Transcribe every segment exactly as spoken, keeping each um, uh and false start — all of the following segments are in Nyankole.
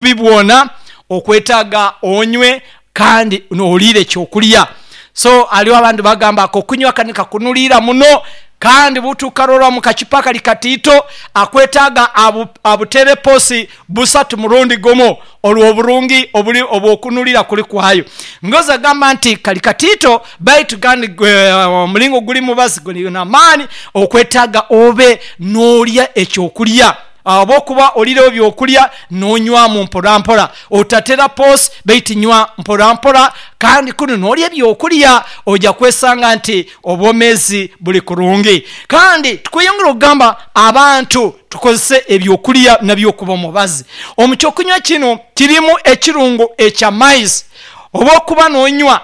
Obubi bwona okwetaaga onywe kandi noliire ekyokulya. So aliwo abandi bagamba akokunywa kani kakunulira muno, kandi butukarora omukacupa kali katiito, akwetaaga abu abutere posi busatu murundi gumu olwoburungi obuli obwokunulira kuli kwayo. Ngozi agamba nti kali katiito baitu kandi omulingo guli mubazi guli namaani, okwetaaga obe nolya ekyokulya. Oba okuba olirewo ebyokulya nonywamu mporampora, otatera posi baitu nywa mporampora kandi kunu nolya ebyokulya oja kwesanga nti obwomezi buli kurungi. Kandi tukweyongera okugamba abantu tukozese ebyokulya nabyo okuba omubazi. Omukyokunywa kinu kirimu ekirungo ekya maizi, oba okuba nonywa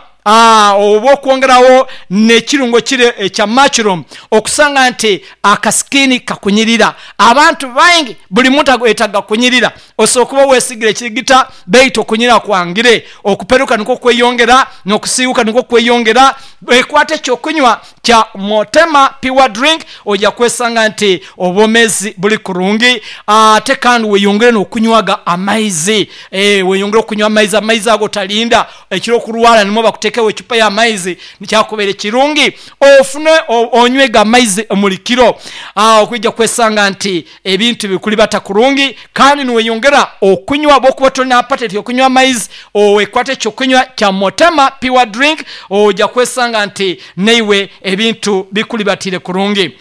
oba okwongerawo nekirungo kire ekya mushroom okusanga nti akasikini kakunyirira. Abantu baingi buli muntu ayetaaga kunyirira, osobola okuba wesigire ekirigita baitu okunyirira kwangire, okuperuka nikwo kweyongera nokusiiwuka nikwo kweyongera. Ekwata ekyokunywa kya Mutema pure drink oja kwesanga nti obwomezi buli kurungi, ate kandi weyongere nokunywaga amaizi, eeh weyongere okunywa amaizi, amaizi ago otalinda ekiro okurwala nimwo bakutekewo ecupa yamaizi nikyakubaire kirungi ofune onywege amaizi omulikiro okwija kwesanga nti ebintu bikulibata kurungi kandi niweyongera okunywa bwokuba tolina apatayiti yokunywa amaizi wekwate ekyokunywa kya Mutema pure drink oja kwesanga nti naiwe ebintu bikulibatire kurungi.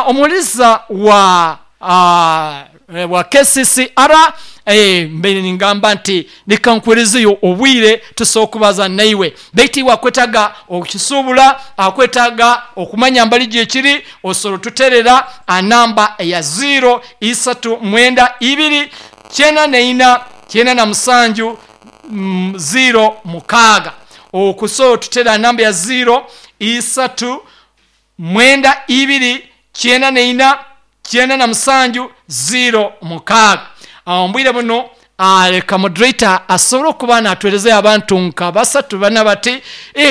Omuwuliriza wa wa K C C R, mbaire ningamba nti leka nkuwerezeyo obwire tusobole okubaza naiwe, baitu iwe akwetaaga okukisubula, akwetaaga okumanya mbali gyekiri, osobola otuterera anamba eya ziro isatu mwenda ibiri kyenda naina kyenda na musanju ziro mukaaga. Okusobola otuterera anamba ya ziro isatu mwenda ibiri kyenda naina kyenda na musanju ziro mukaaga. Obwire buno leka moderator asobole okuba natuwerezayo abantu nka basatu bana bati,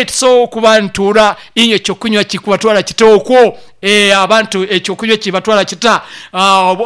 tusobola okuba ntuura inywe ekyokunywa kikubatwala kita okwo, abantu ekyokunywa kibatwala kita,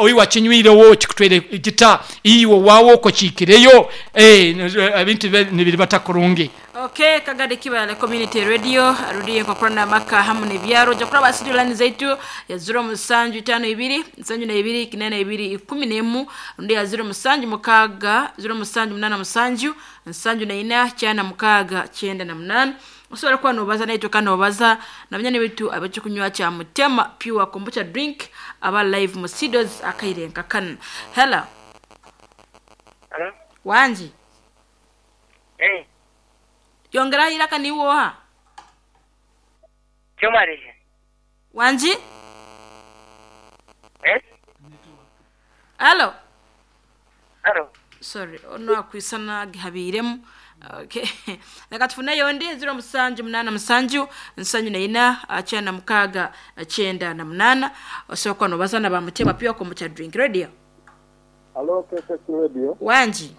iwe akinywirewo kikutwaire kita, iwe owaawe okwo kiikireyo, ebintu bibe nibiribata kurungi. Okay, Kagadi Kibaale Community Radio, rudiyo enkokorana amaka hamu n'ebyaro. Ojja kuraba studio line zaitu ya ziro musanju itaano ibiri nsanju na ibiri kinana ibiri ikumi n'emu, rundi ya ziro musanju mukaaga ziro musanju munaana musanju nsanju na ina kyana mukaaga kyenda na munaana. Osobola kuba nobaza naitwe kandi nobaza na banyani baitu ab'ekyokunywa kya Mutema Pure Kombucha Drink aba live mu studios akaire nka kanu. Hello. Hello? Wangi. Hey. Yongeraho eiraka niiwe oha? Kyomarije. Wangi? Eh? Hello? Hello? Sorry, ono akwisana gihabiiremu. Okay. Leka tufuneyo ondi ziro musanju munaana musanju nsanju na ina kyenda mukaaga kyenda na munaana. Osobola kuba nobaza na ba Mutema Pure Kombucha Drink Radio. Halo K C C Radio. Wangi.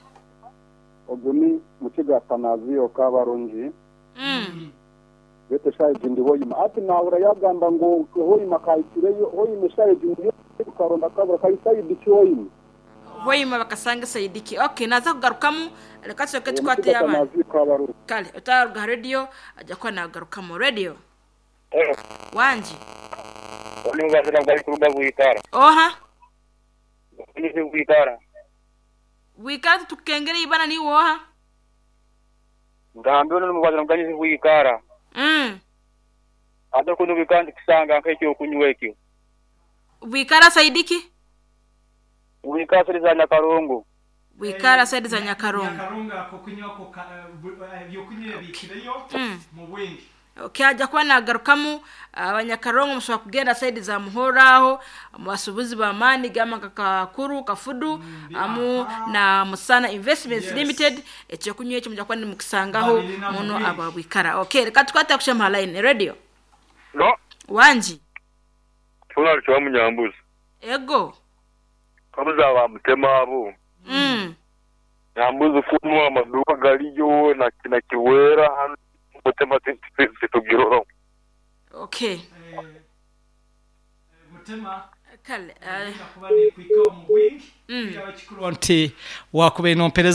Ogu ni Mukiga Atanaziyo Kabarungi. Mm. Beitu eshaaha egi ndi Hoima. Hati naahurira yaagamba ngu Hoima kahikireyo, Hoima eshaaha egi ndiyo karonda kabura kari sayidi ki Hoima? Hoima bakasanga sayidi ki? Okay, naza kugarukamu, reka tusooke Eh, tukwate Mukiga abandi. Atanaziyo Kabarungi. Kale, otaruga ha radio, ajja kuba nagarukamu. Radio. Hello. Wangi. Oni mubazira bwali kuruga Bwikara. Oha? Ni Bwikara. Bwikara tukengere ibana niiwe oha? Ngambe ono mubazira bwali Bwikara. Mm. Ate kuno Bwikara ndikusanga nk'ekyokunywa ekyo. Bwikara sayidi ki? Bwikara siri za Nyakarongo. Bwikara sayidi za Nyakarongo. Nyakarongo akokunywa ebyokunywa ebiikireyo Mm. mu bwingi. Okay, ajja kuba nagarukamu. Abanyakarongo musobola kugenda saidi za Muhoro aho mubasuubuzi b'amaani gamba nka Kakuru Kafudu amu na Musana Investments Yes. Limited, ekyokunywa ekyo mujja kuba nimukisangaho Babirina mu muno bwingi. aba Bwikara. Okay, reka tukwate kushema line radio. No, Wangi. tuna kiwa munyambuzi. Ego. Kabuza ba Mutema abo. Mm. Nyambuzi kunu amaduka galiyo na na kiwera hano Mutema titugirora. Okay. Mutema Kale. Uh, kuba nekwika omu bwingi mm. kikuru nti wakubaire nompereza.